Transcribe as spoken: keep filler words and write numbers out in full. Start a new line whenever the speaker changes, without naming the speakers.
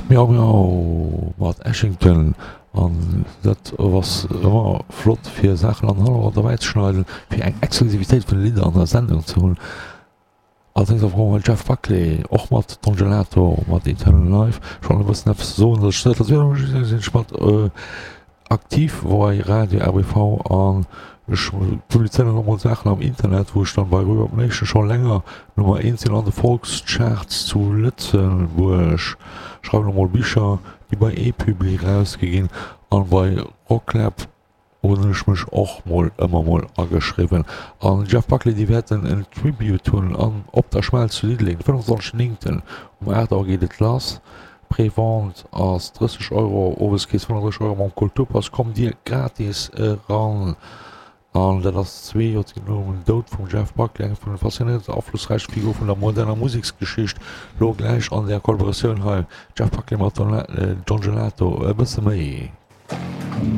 Miau Miau mat Ashington an dat ass ëmmer flott fir Saachen an Hannergrond derbäi ze schneiden, fir eng Exklusivitéit vun de Lidder an der Sendung ze hunn. Allerdéngs och mol Jeff Buckley, och mat Don Gelato, mat Eternal Life. Ech wollt e bëssen eppes soen, datt ech net sinn ech mat aktiv bei Radio RBV an ech publizéieren och mol Saachen am Internet, wou ech dann bei Reverb Nation scho länger Nummer eent sinn an de Volkscharts zu Lëtzebuerg. Schreiwen och mol Bicher, déi bei ePubli rausgi ginn an bei Rocklab hunn ech mech och mol ëmmer mol ageschriwwen. An Jeff Buckley, déi wäerten en Tribute hunn an Op der Schmelz zu Diddeleng, de fënnefenzwanzeg néngten um aacht Auer geet et lass. Pré-Vente ass drësseg Euro, Oweskeess fënnefendrësseg Euro, mam Kulturpass kommt dir gratis eran. An dat ass zwee Joerzéngten nom Doud vum Jeff Buckley, engem vun de faszinéierendsten a aflossräichste Figure vun der moderner Museksgeschicht. Lo gläich an där Kollaboratioun hei, Jeff Buckley mat Don Gelato, e bësse méi.